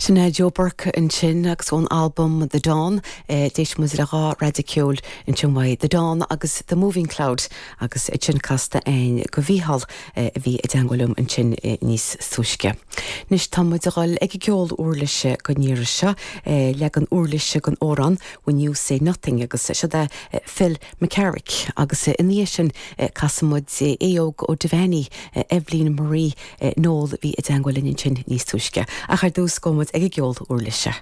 Sin é Joe Burke ansin agus ón albam The Dawn, d'éist muid le dha raideadh ceoil ansin uaidh, The Dawn agus The Moving Cloud agus iad sin casta a'inn go Mhícheál a bhí i dteangmháil liom ansin níos túisce. Anois tá muid a dhul ag an gceol uirlise don iarraidh seo, leagan uirlise den amhrán When You Say Nothing agus siod é Phil McCarrick agus ina dhiaidh sin casfaidh muid Aodh Óg Ó Duibheannaigh, Eibhlín Marie Noel a bhí i dteangmháil linn ansin níos túisce. Ach ar dtús gabhfaidh muid ag an gceol uirlise.